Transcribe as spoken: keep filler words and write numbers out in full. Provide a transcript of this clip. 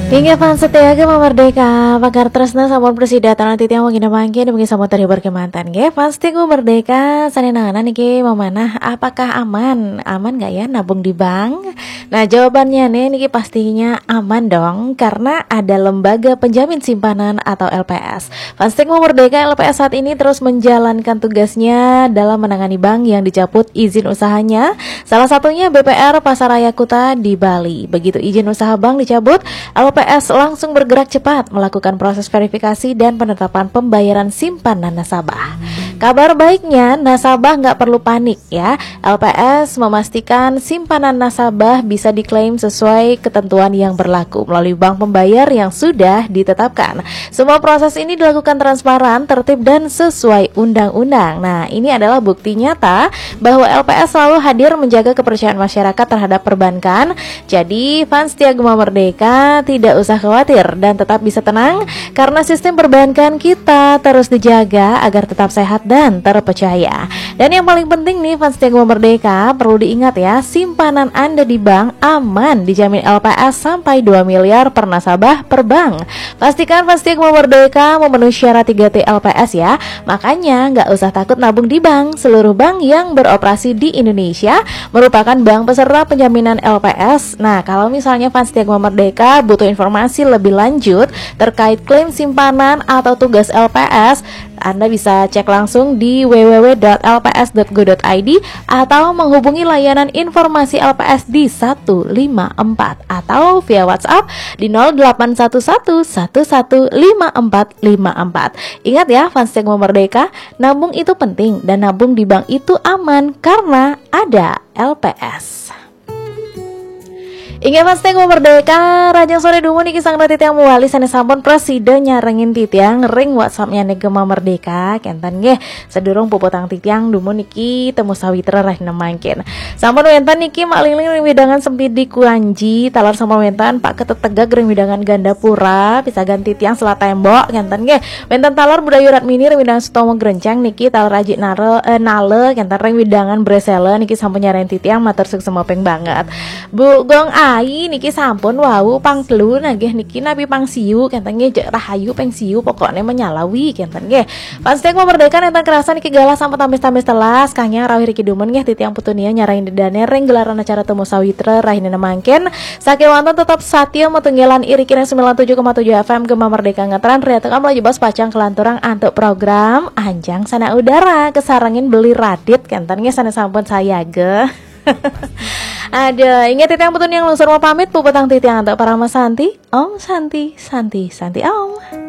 Inggih fans setia Gema Merdeka, pakar tresna sampun prasida titiang wengi mangkin, mungkin sampun terhibur kemanten nggih. Fans setia Gema Merdeka, sané nanganan niki mamanah, apakah aman? Aman nggak ya nabung di bank? Nah, jawabannya nih niki pastinya aman dong, karena ada lembaga penjamin simpanan atau L P S. Fans setia Gema Merdeka, L P S saat ini terus menjalankan tugasnya dalam menangani bank yang dicabut izin usahanya. Salah satunya B P R Pasaraya Kuta di Bali. Begitu izin usaha bank dicabut, L P S langsung bergerak cepat melakukan proses verifikasi dan penetapan pembayaran simpanan nasabah. Kabar baiknya, nasabah nggak perlu panik ya. L P S memastikan simpanan nasabah bisa diklaim sesuai ketentuan yang berlaku melalui bank pembayar yang sudah ditetapkan. Semua proses ini dilakukan transparan, tertib, dan sesuai undang-undang. Nah, ini adalah bukti nyata bahwa L P S selalu hadir menjaga kepercayaan masyarakat terhadap perbankan. Jadi, fans setia Gema Merdeka tidak usah khawatir dan tetap bisa tenang karena sistem perbankan kita terus dijaga agar tetap sehat dan terpercaya. Dan yang paling penting nih, fans setia Gema Merdeka, perlu diingat ya, simpanan Anda di bank aman, dijamin L P S sampai dua miliar per nasabah per bank. Pastikan fans setia Gema Merdeka memenuhi syarat tiga T L P S ya. Makanya nggak usah takut nabung di bank. Seluruh bank yang beroperasi di Indonesia merupakan bank peserta penjaminan L P S. Nah, kalau misalnya fans setia Gema Merdeka butuh informasi lebih lanjut terkait klaim simpanan atau tugas L P S, Anda bisa cek langsung di w w w dot l p s dot go dot i d atau menghubungi layanan informasi L P S di satu lima empat atau via WhatsApp di nol delapan satu satu satu satu lima empat lima empat. Ingat ya, fans setia Gema Merdeka, nabung itu penting dan nabung di bank itu aman karena ada L P S. Inggih fans setia Gema Merdeka, rahajeng soré dumun niki sareng titiang malih sané sampun prasida nyarengin titiang ring WhatsApp-nyané Gema Merdeka, kénten nggih. Sadurung puputang titiang dumun niki Temu Sawitra rahina mangkin. Sampun wénten niki Mak Lingling ring wewidangan Sempidi Kuanji, taler sampun wénten Pak Ketetegag ring wewidangan Gandapura, pisagan titiang Selat Tembok, kénten nggih. Wénten taler Bu Dayu Ratmini ring wewidangan Sutomo Grenceng niki, taler Aji Nare, eh, Nale, kénten ring wewidangan Bresela niki sampun nyarengin titiang, matur suksma ping banget. Bu Gong Ai niki sampun wau pang telu nggih, niki napi pang siu, kénten nggih, jek rahayu ping siu, pokokné menyalawi, kénten nggih. Fans setia Gema Merdeka, nénten kerasa niki galah sampun tamis-tamis telas, kangge rauh riki dumun nggih, titiang Putu Nia nyarengin ida dané ring gelaran acara Temu Sawitra rahina mangkin. Sakéwanten tetep satia matunggilan iriki ring sembilan tujuh koma tujuh F M Gema Merdeka Ngetren, riantukan malih jebos pacang kalanturang antuk program Anjang Sanak Udara, kasarengin Beli Radit, kénten nggih, sané sampun sayaga. Aduh, inggih titiang Putu Nia nglungsur pamit, puputang titiang antuk Parama Santi. Om Santi, Santi, Santi Om.